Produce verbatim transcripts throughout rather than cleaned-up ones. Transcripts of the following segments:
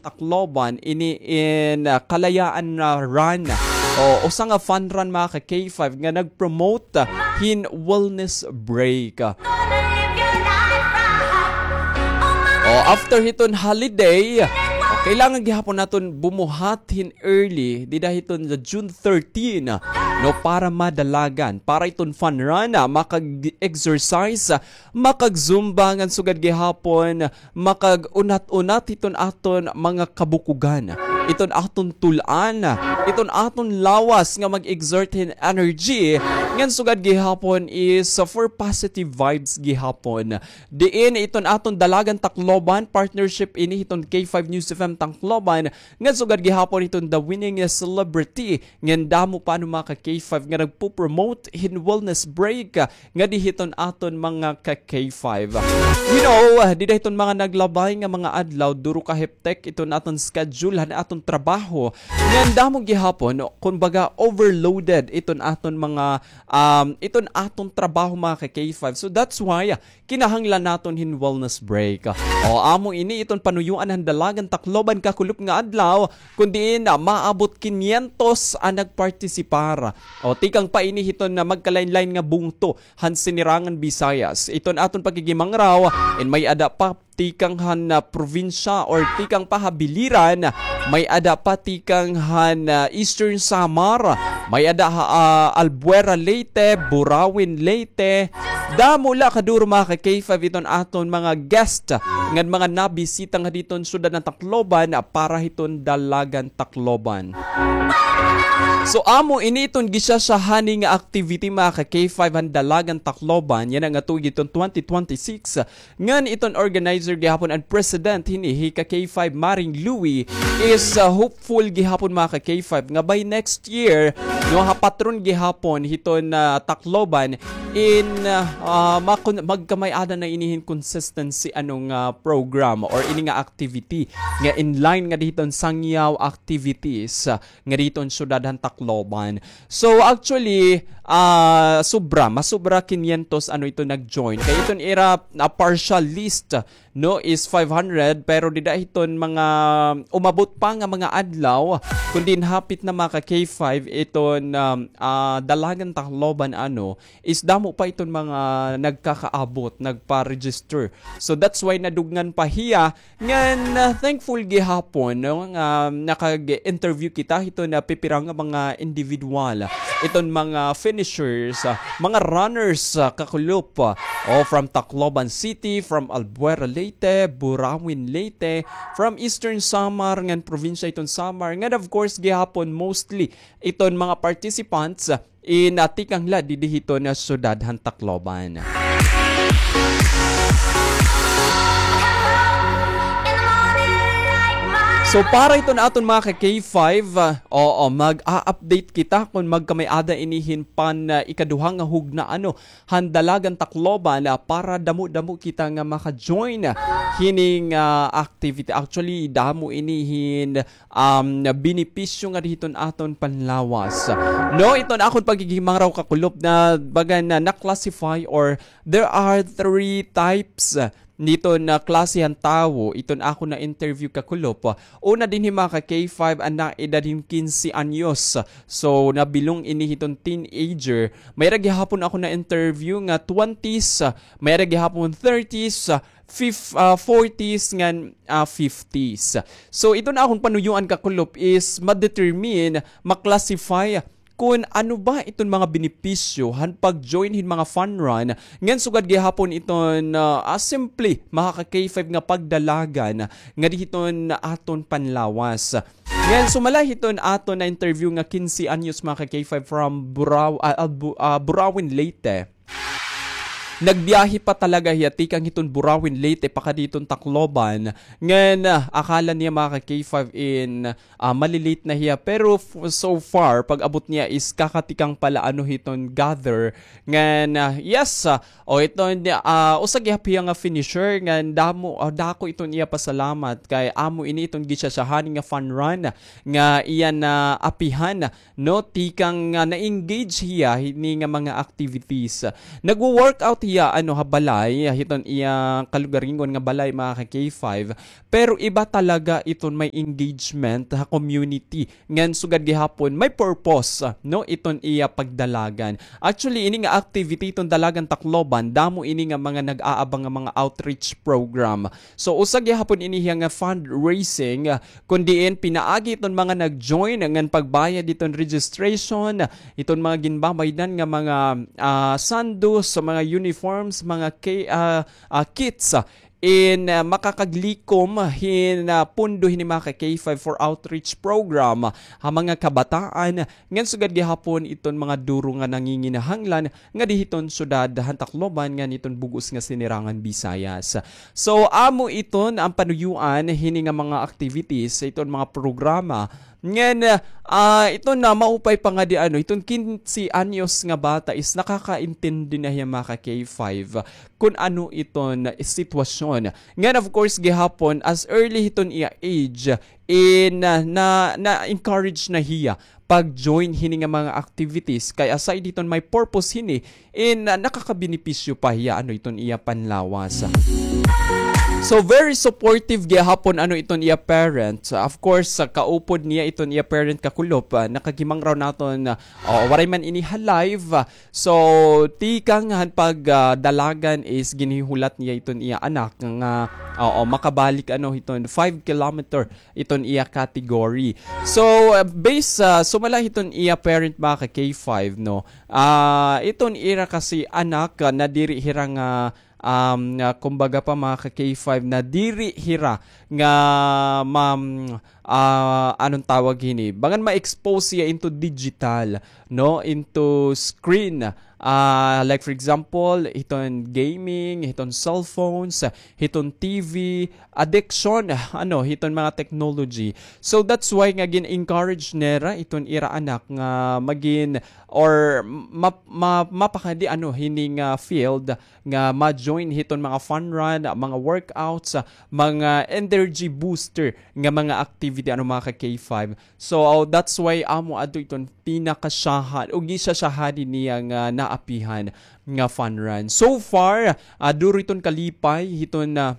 Tacloban ini in, ah, Kalayaan na Run. O, usa nga fun run, mga ka K five, nga nag-promote, ah, hin wellness break. O, after hiton holiday, o, kailangan gihapon naton bumuhat hin early, dida hiton sa June thirteen, no, para madalagan, para iton fun run, ah, makag-exercise, ah, makag-zumba ngan sugad gihapon makag-unat-unat hiton aton mga kabukugan, iton aton tul-an, iton aton lawas nga mag-exert hin energy, ngan sugad gihapon is, uh, for positive vibes gihapon. Diin iton aton Dalagan Tacloban, partnership ini hiton K five News F M Tacloban, ngan sugad gihapon hiton The Winning Celebrity, ngan damo pa, ano, mga ka K five, nga nagpo-promote hin wellness break, ah, ngadi hiton aton mga ka K five. You know, dida hiton mga naglabay nga mga adlaw, duro ka heptek iton aton schedule han aton trabaho. Ngan damo gihapon, kumbaga, overloaded iton aton mga, um, iton aton trabaho, mga ka K five. So that's why, ah, kinahanglan naton hin wellness break. O, amo ini iton panuyuan han Dalagan Tacloban kakulop nga adlaw, kun diin, ah, maabot kinyentos an nagpartisipar. O, tikang pa ini hiton na magkalain-lain nga bungto han Sinirangan Visayas. Iton aton pakikimangraw, in may-ada pa tikang han, ah, probinsya or tikang pa ha biliran, may-ada pa tikang han, ah, Eastern Samar, may-ada ha, ah, Albuera, Leyte, Burauen, Leyte. Damo la kaduro, mga ka K five, iton aton mga guest ngan mga nabisita ngadi hiton syudad han Tacloban, ah, para hiton Dalagan Tacloban. So, amo ini iton gisyasyahani nga activity, mga ka K five, han Dalagan Tacloban yana nga tuig iton twenty twenty-six. Ngan iton organizer gihapon an president hini, hi ka K five Maring Louie, is, uh, hopeful gihapon, mga ka K five, nga by next year, no, ha patron gihapon hiton, uh, Tacloban, in, uh, uh, makon-, magkamay-ada na ini hin consistency, ano, nga program or ini nga activity nga in line ngadi hiton sangyaw activities, uh, ngadi hiton syudad han Tacloban. So, actually, ah, sobra, masobra kinyentos, ano, iton nag-join. Kay iton ira, ah, partial list, no, is five hundred, pero dida hiton mga umabot pa nga mga adlaw, kun diin hapit na, mga ka K five, iton, um, ah, Dalagan Tacloban, ano, is damo pa iton mga nagkakaabot, nagpa-register. So, that's why nadugngan pa hiya. Ngan, ah, thankful gihapon, no, nga nakag-interview kita hiton pipira nga mga individual, iton mga finishers, ah, mga runners, ah, kakulop, ah, o, from Tacloban City, from Albuera, Leyte, Burauen, Leyte, from Eastern Samar, ngan probinsya hiton Samar, ngan of course gihapon mostly iton mga participants, ah, in, ah, tikang la didi hiton syudad han Tacloban. So, para iton aton mga ka K five, ah, oo, mag-a-update kita kun magkamay-ada ini hin pan, ah, ikaduha nga hugna, ano, han Dalagan Tacloban, ah, para damo-damo kita nga maka-join hini nga, ah, activity. Actually, damo ini hin um, benepisyo ngadi hiton aton panlawas. No, iton akon pagkikimangraw kakulop na baga na na-classify or there are three types, ah, niton na klase han tawo, iton akon na-interview kakulop. Una dinhi mga ka K five an naedad hin kinse anyos. So, nabilong ini hiton teenager. May-ada gihapon akon na-interview nga twenties, may-ada gihapon thirties, fif-, ah, forties ngan, ah, fifties. So, iton akon panuyuan kakulop is ma-determine, ma-classify kun ano ba iton mga benepisyo han pag-join hin mga fun run, ngan sugad gihapon iton, ah, ah, simple, mga ka K five nga pagdalagan ngadi hiton aton panlawas. Ngan sumala hiton aton na-interview nga kinse anyos, mga ka K five, from Burao-, ah, ah, Bu-, ah, Burauen, Leyte. Nagbiyahe pa talaga hiya tikang hiton Burauen, Leyte, pakadi hiton Tacloban. Ngan, ah, akala niya, mga ka K five, in, ah, mali-late na hiya. Pero f-, so far, pag-abot niya is kakatikang pa la, ano, hiton gather. Ngan, ah, yes, ah, o, iton, ah, usa gihap hiya nga finisher. Ngan damo, ah, dako iton iya pasalamat kay amo ini iton gisyasyahani nga fun run nga iya naapihan, no, tikang, ah, na-engage hiya hini nga mga activities. Nagwo-workout iya, ano, ha balay, hiton iya kalugaringon nga balay, mga ka-K five. Pero iba talaga iton may engagement ha community. Ngan sugad gihapon, may purpose, no, iton iya pagdalagan. Actually, ini nga activity iton Dalagan Tacloban, damo ini nga mga nag-aabang nga mga outreach program. So, usa gihapon ini hiya nga fundraising, kun diin pinaagi iton mga nag-join ngan pagbayad iton registration, iton mga ginbabaydan nga mga, ah, sandos, mga uniforms, mga ki-, ah, ah, kits, in, ah, makakaglikom hin, ah, pundo hini mga ka-K five for outreach program ha mga kabataan, ngan sugad gihapon iton mga duro nga nanginginahanglan ngadi hiton syudad han Tacloban ngan hiton bug-os nga Sinirangan Visayas. So, amo iton an panuyuan hini nga mga activities, iton mga programa. Ngan, ah, iton na maupay pa ngadi, ano, iton kinse anyos nga bata is nakakaintindi na hiya, mga ka-K five, kun ano iton sitwasyon. Ngan, of course, gihapon, as early hiton iya age, in, ah, na, na-encourage na hiya pag-join hini nga mga activities. Kay aside hiton may purpose hini, in, ah, nakakabenepisyo pa hiya, ano, iton iya panlawas. So, very supportive gihapon, ano, iton iya parents. Of course, sa kaupod niya iton iya parent kakulop, ah, nakahimangaraw naton, ah, o, waray man ini ha live, ah, so, tikang han pag, ah, dalagan is ginhihulat niya iton iya anak nga, oo, makabalik, ano, hiton five kilometer iton iya category. So, uh, based sa sumala hiton iya parent, mga ka-K five, no, ah, iton ira kasi anak, ah, nadiri hira nga, um, ah, kumbaga pa, mga ka-K five, nadiri hira nga, mam-, ah, anong tawag hini? Bangan ma-expose siya into digital, no? Into screen. Ah, like, for example, hiton gaming, hiton cellphones, hiton T V, addiction, ano, hiton mga technology. So, that's why nga gin-encourage nira iton ira anak nga magin or ma-, ma-, mapakadi, ano, hini nga field nga ma-join hiton mga fun run, mga workouts, mga energy booster nga mga activity, ano, mga ka-K five. So, that's why amo adto iton pinakasyahan o gisyasyahadi niya nga naapihan nga fun run. So far, ah, duro iton kalipay hiton, ah,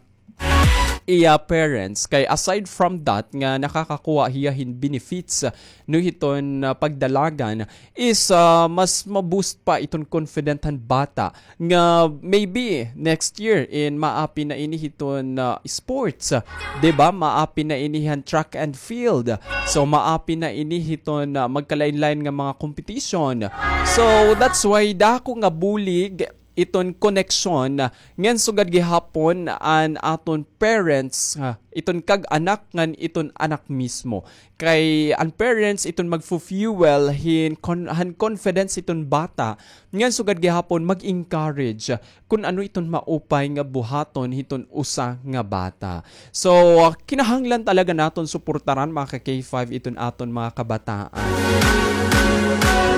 iya parents. Kay aside from that, nga nakakakuha hiya hin benefits, ah, no, hiton, ah, pagdalagan, is, ah, mas ma-boost pa iton confident han bata nga maybe next year in maapi na ini hiton, ah, sports, ah, 'di ba? Maapi na ini han track and field. So, maapi na ini hiton, ah, magkalain-lain nga mga competition. So, that's why dako nga bulig iton koneksyon, ah, ngan sugad gihapon an aton parents, ah, iton kag-anak ngan iton anak mismo. Kay an parents iton magfu-fuel hin con-, han confidence iton bata, ngan sugad gihapon mag-encourage kun ano iton maupay nga buhaton hiton usa nga bata. So, ah, kinahanglan talaga naton suportaran, mga ka-K five, iton aton mga kabataan.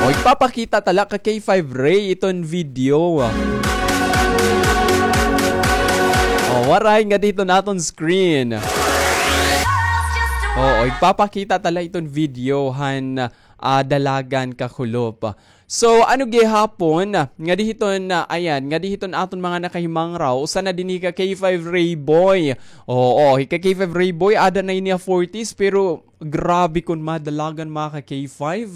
O, ipapakita tala ka-K five Ray iton video. O, waray ngadi hiton aton screen. Oo, ipapakita tala iton video han, ah, dalagan kakulop. So, ano gihapon, ngadi hiton, ah, ayan, ngadi hiton aton mga nakahimangraw, usa na dinhi ka-K five Rayboy. Oo, hi ka-K five Rayboy, ada na ini ha forties, pero grabe kon madalagan, mga ka-K five.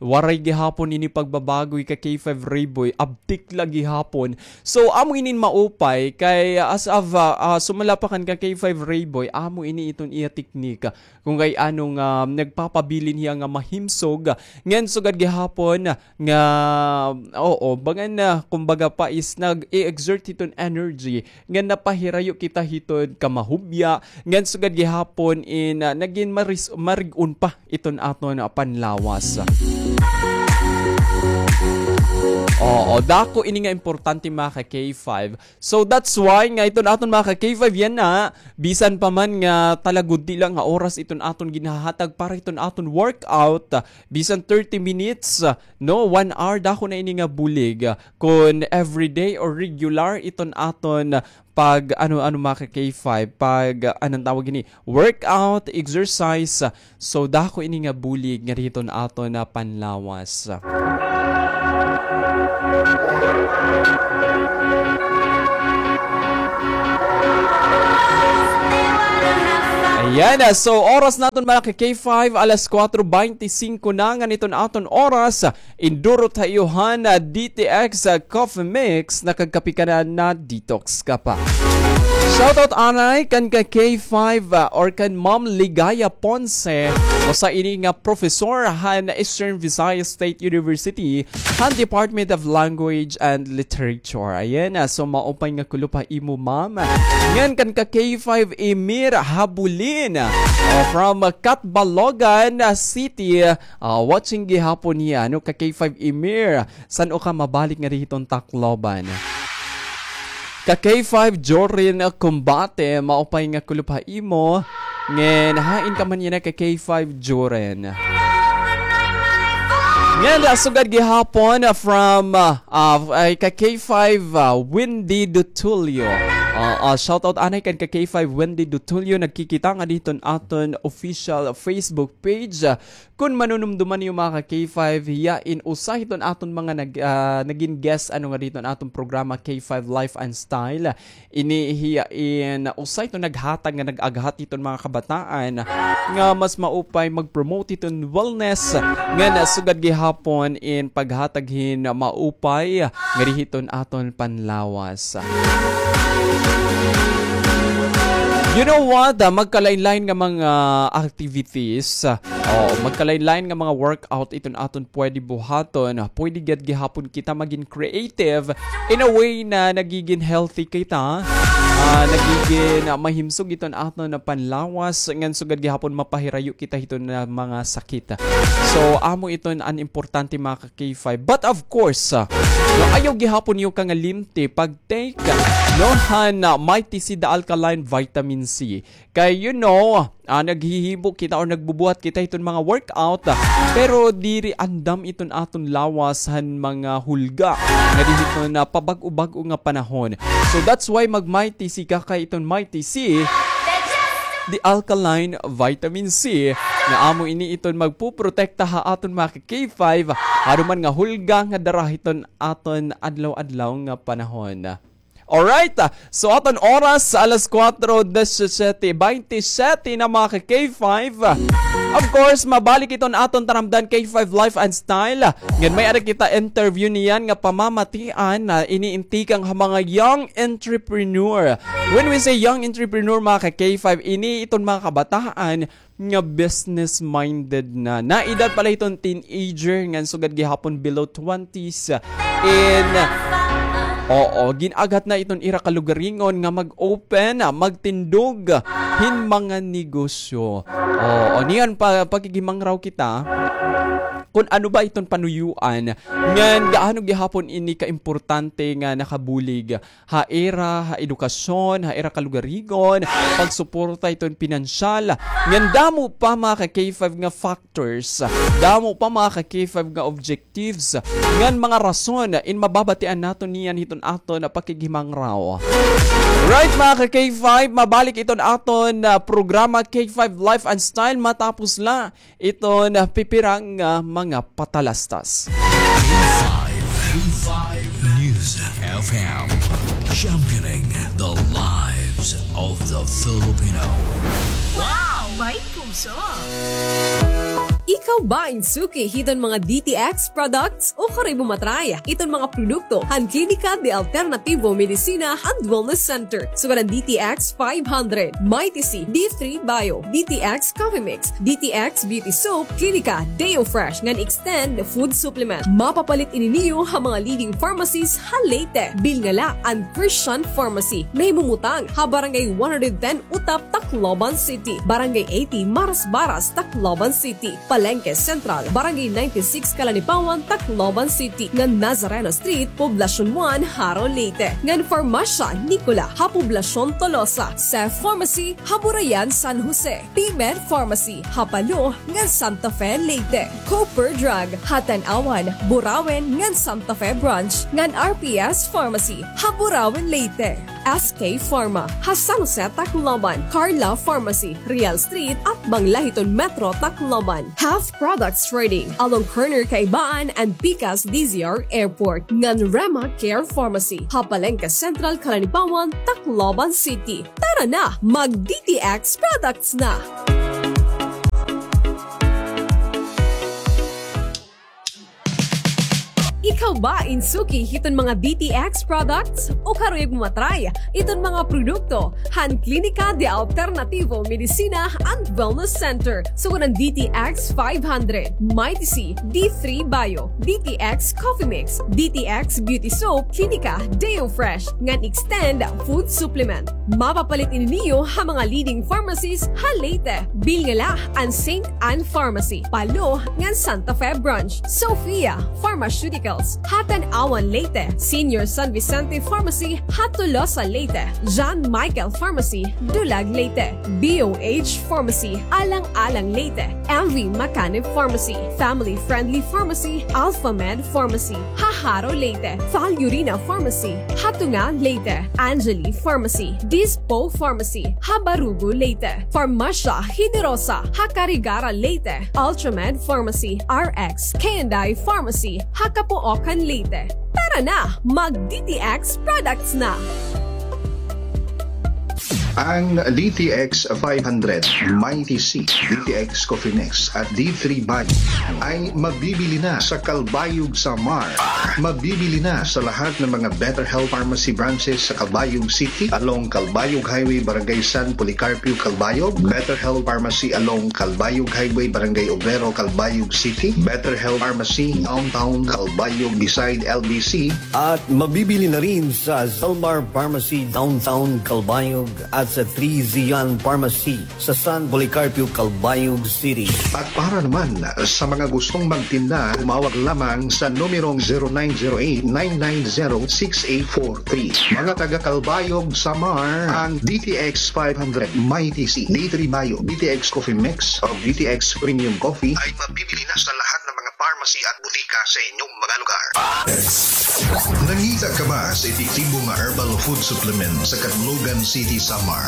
Waray gihapon ini pagbabago, hi ka-K five Rayboy, abtik la gihapon. So, amo inin maupay, kay as of, ah, ah, sumala pa kan ka-K five Rayboy, amo ini iton iya teknika. Kon kay ano nga nagpapabilin hiya nga mahimsog, ngan sugad gihapon nga, oo, bangan na, kumbaga pa is nag-i-exert hiton energy, ngan napahirayo kita hiton kamahubya, ngan sugad gihapon in, ah, nagin maris-, marig-on pa iton aton, ah, panlawas. Oo, dako ini nga importante, mga ka-K five. So that's why nga iton aton, mga ka-K five, yana, bisan pa man nga talagudti lang nga oras iton aton ginhahatag para iton aton workout, ah, bisan thirty minutes, ah, no, one hour, dako na ini nga bulig, ah, kon everyday or regular iton aton pag, ano, ano, mga ka-K five, pag, ah, anong tawag ini, workout, exercise, ah, so dako ini nga bulig ngadi hiton aton panlawas. Yan, ah, so oras naton, mga ka-K five, alas kuwatro beinti singko na ngan iton aton oras. Indurot ha iyo han, ah, D T X, ah, Coffee Mix, nakagkape ka na, na-detox ka pa. Shoutout anay kan ka-K five, ah, or kan Ma'am Ligaya Ponce, usa ini nga professor han Eastern Visayas State University, han Department of Language and Literature. Ayan, ah, so maupay nga kulop ha imo, ma'am. Ngan kan ka-K five Emir Habulin, ah, from, ah, Catbalogan, ah, City, ah, watching gihapon hiya, no, ka-K five Emir. San-o ka mabalik ngadi hiton Tacloban? Ka-K five Jorin Combate, maupay nga kulop ha imo. Ngan hain ka man yana, ka-K five Jorin? Ngan, ah, sugad gihapon, ah, from, ah, ah, ay, ka-K five, ah, Wendy Dutulio. Ah, ah, shoutout anay kan ka-K five Wendy Dutulio, nagkikita ngadi hiton aton official Facebook page. Ah, Kun manunumduman niyo, mga ka-K five, hiya in usa hiton aton mga nag-, ah, nagin guest, ano, ngadi hiton aton programa, K five Life and Style. Ini hiya in usa hiton naghatag nga nag-aghat hiton mga kabataan nga mas maupay mag-promote hiton wellness, ngan sugad gihapon in paghatag hin maupay ngadi hiton aton panlawas. You know what? Ah, magkalain-lain nga mga activities, ah, oo, magkalain-lain nga mga workout iton aton pwede buhaton. Pwede gad gihapon kita magin creative in a way na nagigin healthy kita, ah, nagigin, ah, mahimsog iton aton panlawas, ngan sugad gihapon mapahirayo kita hiton, ah, mga sakit. So, amo iton an importante, mga ka-K five. But of course, ah, no, ayaw gihapon niyo kangalimti pag-take, no, han, ah, Mighty C, the alkaline vitamin C. Kay, you know, ah, naghihimo kita or nagbubuhat kita hiton mga workout, ah, pero diri andam iton aton lawas han mga hulga ngadi hiton, ah, pabag-o-bag-o nga panahon. So that's why mag-Mighty C ka, kay iton Mighty C, the alkaline vitamin C, nga amo ini iton magpoprotekta ha aton mga ka-K five, anuman nga hulga nga dara hiton aton adlaw-adlaw nga panahon. Alright, ah, so aton oras sa alas kuwatro disisiyete, beintisiyete na, mga ka-K five. Of course, mabalik iton aton taramdan, K five Life and Style. Ngan may-ada kita interview niyan nga pamamatian na ini in tikang ha mga young entrepreneur. When we say young entrepreneur, mga ka-K five, ini iton mga kabataan nga business-minded na. Naedad pa la hiton teenager ngan sugad gihapon below twenties. In, oo, gin-aghat na iton ira kalugaringon nga mag-open, magtindog hin mga negosyo. Oo, niyan pa, pakigimangraw kita kun ano ba iton panuyuan, ngan gaano gihapon ini kaimportante nga nakabulig ha ira, ha edukasyon, ha ira kalugaringon, pagsuporta iton pinansyal. Ngan damo pa, mga ka-K five, nga factors, damo pa, mga ka-K five, nga objectives, ngan mga rason in mababatian naton niyan hiton aton pakighimangraw. Right, mga ka-K five, mabalik iton aton, ah, programa K five Life and Style matapos la iton pipira nga mga patalastas. K five, K five News F M, championing the lives of the Filipino. Wow! May puso! Ikaw ba in suki hiton mga D T X products? O kari mo matry iton mga produkto han Klinika de Alternativo Medicina and Wellness Center. Sugad an D T X five hundred, Mighty C, D three Bio, D T X Coffee Mix, D T X Beauty Soap, Klinika Deo Fresh ngan Extend Food Supplement. Mapapalit ini niyo ha mga leading pharmacies ha Leyte. Bilnga la an Christian Pharmacy. Nahimumutang ha Barangay one hundred ten Utap, Tacloban City, Barangay eighty Marasbaras, Tacloban City, Palengke Central, Barangay ninety-six Calanipawan, Tacloban City, ngan Nazareno Street, Poblacion one, Jaro, Leyte, ngan Farmacia Nicola ha Poblacion Tolosa, Seth Pharmacy ha Burayan, San Jose, P-Med Pharmacy ha Palo ngan Santa Fe, Leyte, Cooper Drug ha Tanauan, Burauen ngan Santa Fe Branch, ngan R P S Pharmacy ha Burauen, Leyte. S K Pharma, ha San Jose, Tacloban, Carla Pharmacy, Real Street, atbang la hiton Metro Tacloban. Half Products Trading, along corner Kaibaan and Pikas D Z R Airport, ngan Rema Care Pharmacy, ha Palengke Central, Calanipawan, Tacloban City. Tara na, mag D T X products na! Ikaw ba in suki hiton mga D T X products? O karuyag mo ma-try iton mga produkto han Klinika de Alternativo Medicina and Wellness Center, sugad han D T X five hundred, Mighty C, D three Bio, D T X Coffee Mix, D T X Beauty Soap, Klinika Deo Fresh, ngan Extend Food Supplement. Mapapalit ini niyo ha mga leading pharmacies ha Leyte. Bilngala an Saint Ann Pharmacy, Palo, ngan Santa Fe Branch. Sophia Pharmaceuticals, ha Tanauan, Leyte. Senior San Vicente Pharmacy, ha Tolosa, Leyte. John Michael Pharmacy, Dulag, Leyte. B O H Pharmacy, Alang-alang, Leyte. M V Macanib Pharmacy, Family Friendly Pharmacy, Alphamed Pharmacy, ha Jaro, Leyte. Falurina Pharmacy, ha Tunga, Leyte. Angeli Pharmacy, Dispo Pharmacy, ha Barugo, Leyte. Farmacia Generosa, ha Carigara, Leyte. Ultramed Pharmacy, R X K and I Pharmacy, ha Capoocan, Leyte. Tara na, mag D T X products na! Ang D T X five hundred, Mighty C, D T X Coffee Mix at D three Bio ay mabibili na sa Calbayog, Samar. Mabibili na sa lahat ng mga Better Health Pharmacy branches sa Calbayog City, along Calbayog Highway, Barangay San Policarpio, Calbayog, Better Health Pharmacy along Calbayog Highway, Barangay Obrero, Calbayog City, Better Health Pharmacy Downtown Calbayog beside L B C, at mabibili na rin sa Zalmar Pharmacy Downtown Calbayog at sa Three Zion Pharmacy sa San Policarpio, Calbayog City. At para naman sa mga gustong magtinda, tumawag lamang sa numerong zero nine zero eight, nine nine zero, six eight four three. Mga taga Calbayog, Samar, ang D T X five hundred, Mighty C, D three Bio, D T X Coffee Mix, o D T X Premium Coffee ay mabibili na sa lahat ng mga pharmacy at butika sa inyong mga lugar. Nangita ka ba sa epektibo nga herbal food supplement sa Catbalogan City, Samar?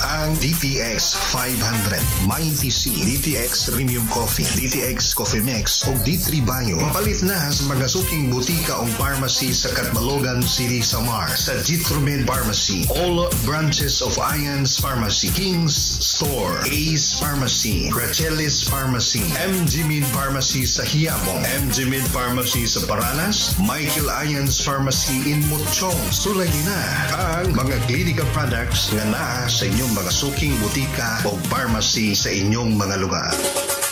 Ang D T X five hundred, Mighty C, D T X Premium Coffee, D T X Coffee Mix, o D three Bio. Mapalit na sa mga suking butika o pharmacy sa Catbalogan City, Samar, sa Jitromed Pharmacy, all branches of Ian's Pharmacy, King's Store, Ace Pharmacy, Rachel's Pharmacy, M G Med Pharmacy sa Quiapo, M G Med Pharmacy sa Paranas, Michael Ian's Pharmacy in Mochong. Sulayi na ang mga Clinica products nga naa sa inyong mga suking butika o pharmacy sa inyong mga lugar.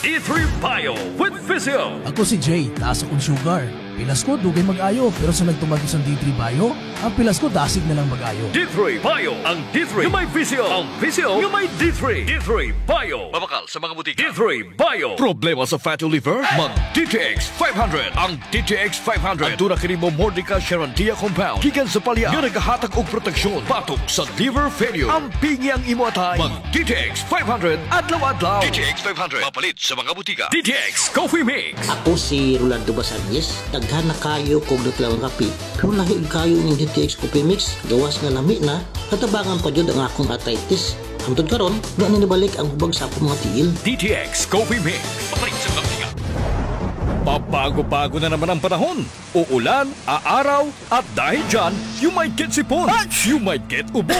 D three Bio with Physio. Ako si Jay, taas akon sugar. Pilas ko, dugay mag-ayo, pero sa nagtumag ko sang D three Bio, ang pilas ko dasig na lang mag-ayo. D three Bio, ang D three nga may Physio, ang Physio nga may D three. D three Bio. Mabakal sa mga butika. D three Bio. Problema sa fatty liver? Mag D T X five hundred. Ang D T X five hundred. Aduna kini Momordica charantia compound gikan sa palya nga nagahatag og proteksyon batok sa liver failure. Ampingi ang imo atay. Mag D T X five hundred adlaw-adlaw. D T X five hundred. Mapalit sa mga butika. D T X Coffee Mix. Ako si Rolando Basanes. Daghan na kaayo ko og natural nga kape. Pero lahi kaayo ining D T X Coffee Mix. Gawas nga lami na, natabangan pa jud ang akong arthritis. Hangtod karon, wa na nibalik ang hubag sa akong mga tiil. D T X Coffee Mix. Mapalit sa mga butika. Pabago-bago na naman ang panahon. Uulan, aaraw, at dahil dyan, you might get sipon. You might get ubo.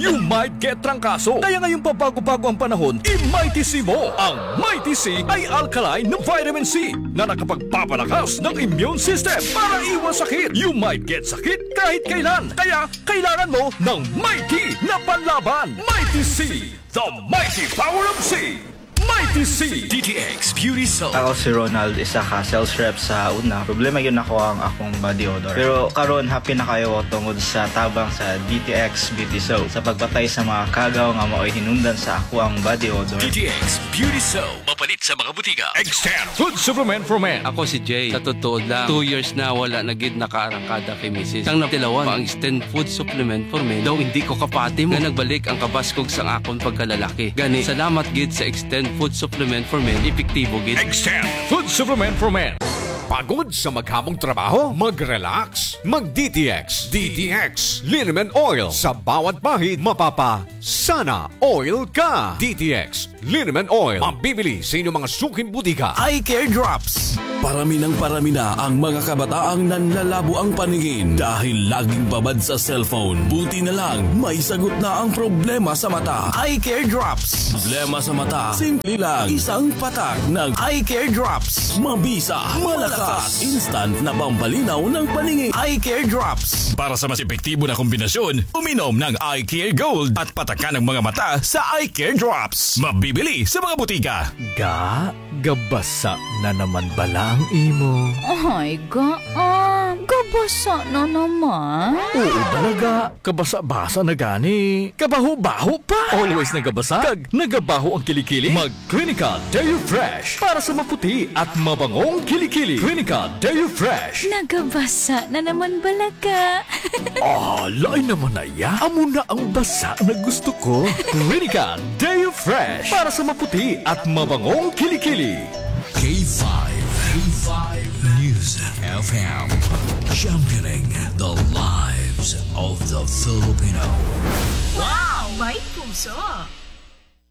You might get trangkaso. Kaya ngayong pabago-bago ang panahon, i-Mighty C mo. Ang Mighty C ay alkaline na vitamin C na nakapagpapalakas ng immune system para iwas sakit. You might get sakit kahit kailan. Kaya kailangan mo ng Mighty na panlaban. Mighty C, the mighty power of C. Mighty C. D T X Beauty Soap. Ako si Ronald, isa ka sales rep sa una. Problema gyud nako ang akong body odor. Pero karon, happy na kaayo ko tungod sa tabang sa D T X Beauty Soap sa pagpatay sa mga kagaw nga maoy hinungdan sa akoang body odor. D T X Beauty Soap. Mapalit sa mga butika. Extend Food Supplement for Men. Ako si Jay. Sa totoo lang, two years na wala na gid nakaarangkada kay misis. Sang natilawan pa ang Extend Food Supplement for Men, daw indi ko kapati mo nga nagbalik ang kabaskog sang akon pagkalalaki. Gani, salamat gid sa Extend Food Supplement for Men, epektibo gid. Extend Food Supplement for Men. Pagod sa maghamong trabaho? Mag-relax. Mag-D T X. D T X Liniment Oil. Sa bawat pahid, mapapa-Sana Oil ka. D T X Liniment Oil. Mabibili sa inyong mga suking butika. Eye Care Drops. Parami nang parami na ang mga kabataang nanlalabo ang paningin dahil laging babad sa cellphone. Buti na lang, may sagot na ang problema sa mata. Eye Care Drops. Problema sa mata, simple lang. Isang patak ng Eye Care Drops. Mabisa, malakas, instant na pampalinaw ng paningin. Eye Care Drops. Para sa mas epektibo na kombinasyon, uminom ng Eye Care Gold at patakan ang mga mata sa Eye Care Drops. Mabibili sa mga butika. Ga, gabasa na naman bala ang imo? Ay, Ga, ah, gabasa na naman? Oo bala, Ga. Kabasa-basa na gani. Kabaho-baho pa. Always nagabasa, kag nagabaho ang kilikili. Mag Clinical Deo Fresh para sa maputi at mabangong kilikili. Clinical Deo Fresh. Nagabasa na naman bala ka. Ah, lain naman na iya. Amo na ang basa na gusto ko. Clinical Deo Fresh para sa maputi at mabangong kilikili. K five, K five News F M, championing the lives of the Filipino. Wow! May puso!